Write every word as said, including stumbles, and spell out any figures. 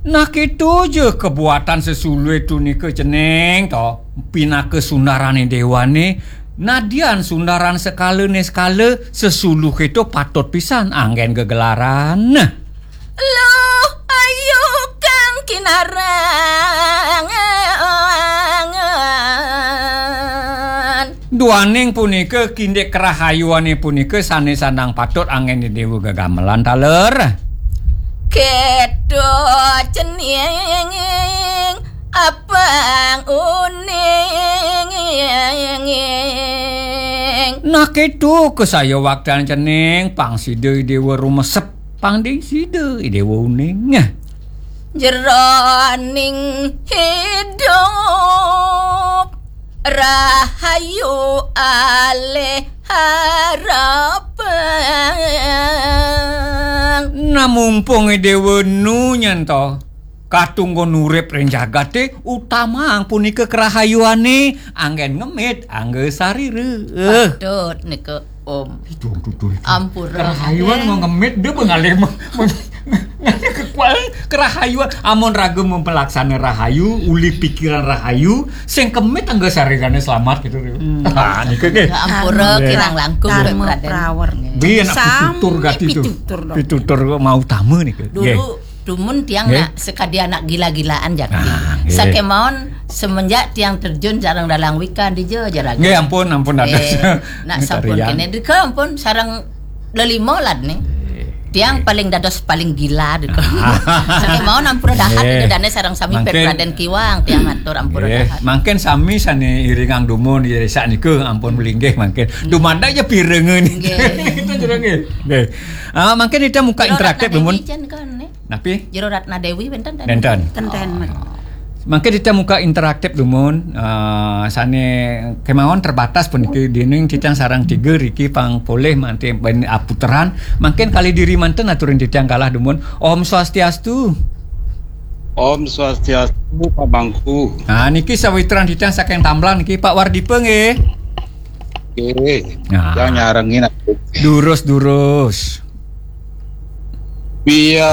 Nah, kéto ja kabuatan sesuluh to nika, Cening, to. Pinaka sundarané déwané, nadian sundaran sekalané sekala, sesuluh kéto patut pisan anggén gegelaran. Luh, ayu Kang Kinarang. Duaning punika, kindik kerahayuané punika sané sandang patut anggén déwa gegamelan taler. Kéto Cening, apang uning. Nah, kéto kasayawaktan, Cening, pang sida déwa rumesep, pang ding sida déwa uning. Jeroning hidup rahayu alih harapang. Nah, mumpung déwa nu nyanto katunggon urip ring jagaté, utamaang punika kerahayuané, anggén ngemit angga sarira. Patut nika, Om. Itu, itu, itu, itu. Ampura. Kerahayuan mau ngemit, dia mengalih me-, me-, ngalih kekuatan kerahayuan. Amun raga mempelaksana rahayu, uli pikiran rahayu, sing kemit angga sarirané selamat gitu. Hmm. Ah, nika nggih. Ya, ampura, nggih. Kirang langkung, Darma Raden. Prawer. Nggih. Biyen aku Sami pitutur gati itu. Pitutur dong. Pitutur mau utama nika. Dulu, nggih. Dumun tiang nggih. Nak sekadi anak gila-gilaan jati. Ah, nggih. Sakémaon semenjak tiang terjun sareng Dalang Wika, dija ja raga. Nggih, ampun, ampun, dados. Nggih. Nak sampun ngetarian. Kéné, dika ampun, sareng lelima lad nih. Nggih. Tiang nggih. Paling dados paling gila, dika. Ah. Sakémaon ampura dahat, nggih. Dika dané sareng sami. Mangkin Pep Raden Kiwang, tiang matur ampura nggih. Dahat. Mangkin sami sané iringang dumun, ya, sak nika ampun melinggih mangkin. Hmm. Dumadak ya pirengan. Nggih. Kita jero nggih. Nggih. Ah, mangkin kita muka Jero interaktif, Ratna Dewi dumun. Jen kan, nih. Napi? Jero Ratna Dewi wénten ten? Nénten. Ten, ten, Mat. Mangkin kita muka interaktif dumun, eh, sané kémaon terbatas puniki, dening titiang sareng tiga riki pang polih manti ben aputeran. Mangkin kalih diri manten aturin titiang kalah dumun. Om Swastiastu. Om Swastiastu, Pak Mangku. Nah, niki sawitran titiang saking Tamblang niki, Pak Wardipa nggih. Nggih. Nah. Yang nyarengin aku. Durus, durus. Biat